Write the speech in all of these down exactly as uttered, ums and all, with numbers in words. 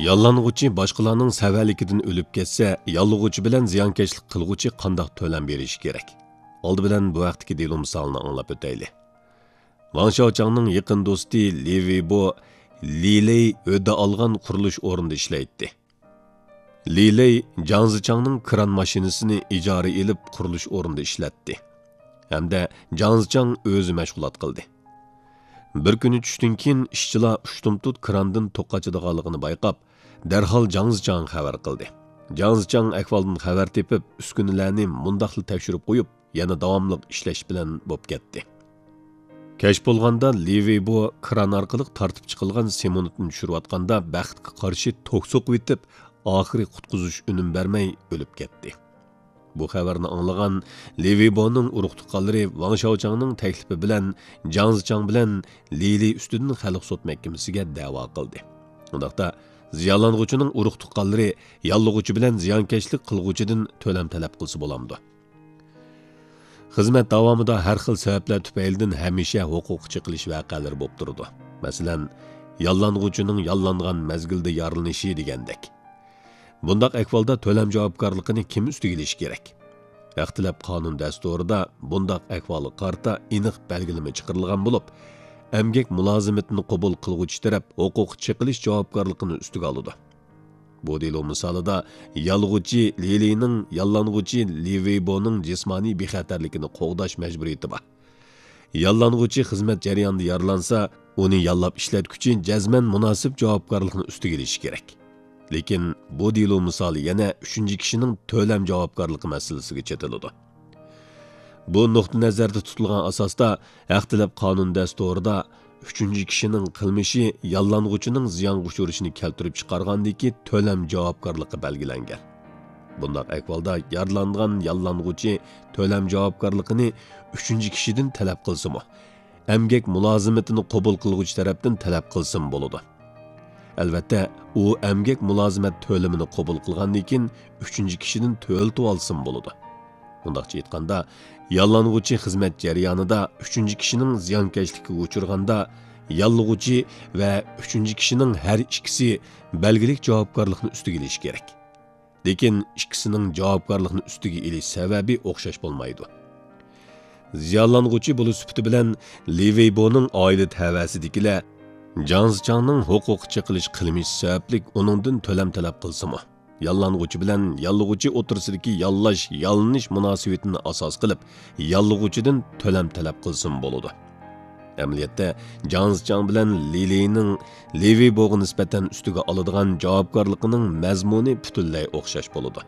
ياللانغۇچى باشقىلارنىڭ سەۋەنلىكىدىن ئۆلۈپ كەتسە، ياللىغۇچى بىلەن زىيانكەشلىك قىلغۇچى قانداق تۆلەم بېرىشى كېرەك؟ ئالدى بىلەن بۇ ھەقتىكى دېلو مىسالىنى ئاڭلاپ ئۆتەيلى. ۋاڭ شياۋچاڭنىڭ يېقىن دوستى لى ۋېيبو لى لېي ھۆددە ئالغان قۇرۇلۇش ئورنىدا ئىشلەيتتى. لى لېي جاڭ زىچاڭنىڭ كران ماشىنىسىنى ئىجارە ئېلىپ، قۇرۇلۇش ئورنىدا ئىشلەتتى ھەمدە جاڭ زىچاڭ ئۆزى مەشغۇلات قىلدى. بىر كۈنى چۈشتىن كېيىن ئىشچىلار ئۇشتۇمتۇت كراندىن توك قاچىدىغانلىقىنى بايقاپ، دەرھال جاڭ زىچاڭغا خەۋەر قىلدى. جاڭ زىچاڭ ئەھۋالدىن خەۋەر تېپىپ، ئۈسكۈنىلەرنى مۇنداقلا تەكشۈرۈپ قويۇپ، يەنە داۋاملىق ئىشلەش بىلەن بوپ كەتتى. كەچ بولغاندا لى ۋېيبو كران ئارقىلىق تارتىپ چىقىلغان سېمونتنى چۈشۈرۈۋاتقاندا، بەختكە قارشى توك سوقۇۋېتىپ، ئاخىرى قۇتقۇزۇش ئۈنۈم بەرمەي ئۆلۈپ كەتتى. بۇ خەۋەرنى ئاڭلىغان لى ۋېيبونىڭ ئۇرۇق-تۇغقانلىرى ۋاڭ شياۋچاڭنىڭ تەكلىپى بىلەن جاڭ زىچاڭ بىلەن لى لېي ئۈستىدىن خەلق سوت مەھكىمىسىگە دەۋا قىلدى. ئۇنداقتا، زىيانلانغۇچىنىڭ ئۇرۇق-تۇغقانلىرى ياللىغۇچى بىلەن زىيانكەشلىك قىلغۇچىدىن تۆلەم تەلەپ قىلسا بولامدۇ؟ خىزمەت داۋامىدا ھەر خىل سەۋەبلەر تۈپەيلىدىن ھەمىشە ھوقۇق چېقىلىش ۋەقەلىرى بولۇپ تۇرىدۇ. مەسىلەن، ياللانغۇچىنىڭ ياللانغان مەزگىلدە يارىلىنىشى دېگەندەك. بۇنداق ئەھۋالدا تۆلەم جاۋابكارلىقىنى كىم ئۈستىگە ئېلىشى كېرەك؟ ھەق تەلەپ قانۇن دەستۇرىدا بۇنداق ئەھۋالغا قارىتا ئېنىق بەلگىلىمە چىقىرىلغان بولۇپ، ئەمگەك مۇلازىمىتىنى قوبۇل قىلغۇچى تەرەپ ھوقۇق چېقىلىش جاۋابكارلىقىنى ئۈستىگە ئالىدۇ. بۇ دېلو مىسالىدا يالغۇچى لى لېينىڭ ياللانغۇچى لى ۋېيبونىڭ جىسمانىي بىخەتەرلىكىنى قوغداش مەجبۇرىيىتى بار. ياللانغۇچى خىزمەت جەريانىدا يارىلانسا، ئۇنى ياللاپ ئىشلەتكۈچى جەزمەن مۇناسىپ جاۋابكارلىقنى ئۈستىگە ئېلىشى كېرەك. لېكىن بۇ دېلو مىسالى يەنە ئۈچىنچى كىشىنىڭ تۆلەم جاۋابكارلىقى مەسىلىسىگە چېتىلىدۇ. بۇ نۇقتا نەزەردە تۇتۇلغان ئاساستا، ھەق تەلەپ قانۇن دەستۇرىدا ئۈچىنچى كىشىنىڭ قىلمىشى ياللانغۇچىنىڭ زىيانغا ئۇچرىشىنى كەلتۈرۈپ چىقارغاندىكى تۆلەم جاۋابكارلىقى بەلگىلەنگەن. بۇنداق ئەھۋالدا يارىلانغان ياللانغۇچى تۆلەم جاۋابكارلىقىنى ئۈچىنچى كىشىدىن تەلەپ قىلسىمۇ، ئەمگەك مۇلازىمىتىنى قوبۇل قىلغۇچى تەرەپتىن تەلەپ قىلسىمۇ بولىدۇ. ئەلۋەتتە، ئۇ ئەمگەك مۇلازىمەت تۆلىمىنى قوبۇل قىلغاندىن كېيىن ئۈچىنچى كىشىدىن تۆلىتىۋالسىمۇ بولىدۇ. مۇنداقچە ئېيتقاندا، ياللانغۇچى خىزمەت جەريانىدا ئۈچىنچى كىشىنىڭ زىيانكەشلىكىگە ئۇچرىغاندا، ياللىغۇچى ۋە ئۈچىنچى كىشىنىڭ ھەر ئىككىسى بەلگىلىك جاۋابكارلىقنى ئۈستىگە ئېلىشى كېرەك. لېكىن ئىككىسىنىڭ جاۋابكارلىقنى ئۈستىگە ئېلىش سەۋەبى ئوخشاش بولمايدۇ. زىيانلانغۇچى بولۇش سۈپىتى بىلەن لى ۋېيبونىڭ ئائىلە تەۋەسىدىكىلەر جاڭ زىچاڭنىڭ ھوقۇق چېقىلىش قىلمىشى سەۋەبلىك ئۇنىڭدىن تۆلەم تەلەپ قىلسىمۇ، ياللانغۇچى بىلەن ياللىغۇچى ئوتتۇرىسىدىكى ياللاش، يالىنىش مۇناسىۋىتىنى ئاساس قىلىپ، ياللىغۇچىدىن تۆلەم تەلەپ قىلسىمۇ بولىدۇ. ئەمەلىيەتتە، جاڭ زىچاڭ بىلەن لى لېينىڭ لى ۋېيبوغا نىسبەتەن ئۈستىگە ئالىدىغان جاۋابكارلىقىنىڭ مەزمۇنى پۈتۈنلەي ئوخشاش بولىدۇ.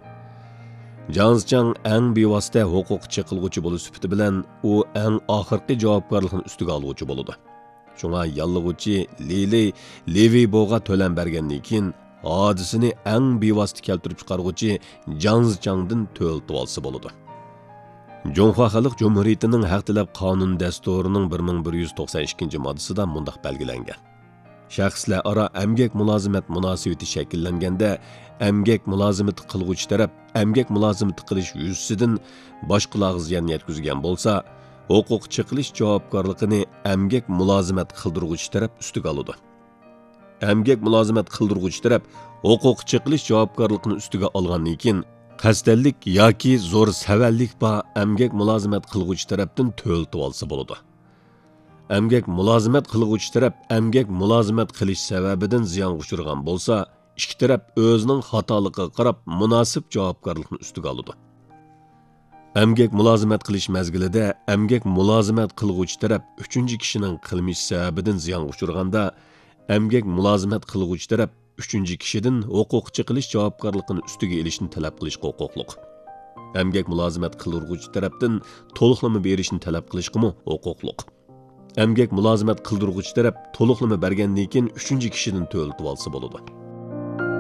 جاڭ زىچاڭ ئەڭ بىۋاسىتە ھوقۇق چېقىلغۇچى بولۇش سۈپىتى بىلەن، ئۇ ئەڭ ئاخىرقى جاۋابكارلىقنى ئۈستىگە ئالغۇچى بولىدۇ. شۇڭا ياللىغۇچى لى لېي لى ۋېيبوغا تۆلەم بەرگەندىن كېيىن، ھادىسىنى ئەڭ بىۋاسىتە كەلتۈرۈپ چىقارغۇچى جاڭ زىچاڭدىن تۆلىتىۋالسا بولىدۇ. جۇڭخۇا خەلق جۇمھۇرىيىتىنىڭ ھەق تەلەپ قانۇن دەستۇرىنىڭ بىر مىڭ بىر يۈز توقسان ئىككىنچى ماددىسىدا مۇنداق بەلگىلەنگەن: شەخسلەر ئارا ئەمگەك مۇلازىمەت مۇناسىۋىتى شەكىللەنگەندە، ئەمگەك مۇلازىمىتى قىلغۇچى تەرەپ ئەمگەك مۇلازىمىتى قىلىش يۈزىسىدىن باشقىلارغا زىيان يەتكۈزگەن بولسا، ھوقۇق چېقىلىش جاۋابكارلىقىنى ئەمگەك مۇلازىمەت قىلدۇرغۇچى تەرەپ ئۈستىگە ئالىدۇ. ئەمگەك مۇلازىمەت قىلدۇرغۇچى تەرەپ ھوقۇق چېقىلىش جاۋابكارلىقىنى ئۈستىگە ئالغاندىن كېيىن، قەستەنلىك ياكى زور سەۋەنلىك بار ئەمگەك مۇلازىمەت قىلغۇچى تەرەپتىن تۆلىتىۋالسا بولىدۇ. ئەمگەك مۇلازىمەت قىلغۇچى تەرەپ ئەمگەك مۇلازىمەت قىلىش سەۋەبىدىن زىيانغا ئۇچرىغان بولسا، ئىككى تەرەپ ئۆزىنىڭ خاتالىقىغا قاراپ مۇناسىپ جاۋابكارلىقنى ئۈستىگە ئالىدۇ. ئەمگەك مۇلازىمەت قىلىش مەزگىلىدە ئەمگەك مۇلازىمەت قىلغۇچى تەرەپ ئۈچىنچى كىشىنىڭ قىلمىشى سەۋەبىدىن زىيانغا ئۇچرىغاندا، ئەمگەك مۇلازىمەت قىلغۇچى تەرەپ ئۈچىنچى كىشىدىن ھوقۇق چېقىلىش جاۋابكارلىقىنى ئۈستىگە ئېلىشنى تەلەپ قىلىشقا ھوقۇقلۇق. ئەمگەك مۇلازىمەت قىلدۇرغۇچى تەرەپتىن تولۇقلىما بېرىشنى تەلەپ قىلىشقىمۇ ھوقۇقلۇق. ئەمگەك مۇلازىمەت قىلدۇرغۇچى تەرەپ تولۇقلىما بەرگەندىن كېيىن ئۈچىنچى كىشىدىن تۆلىتىۋالسا بولىدۇ.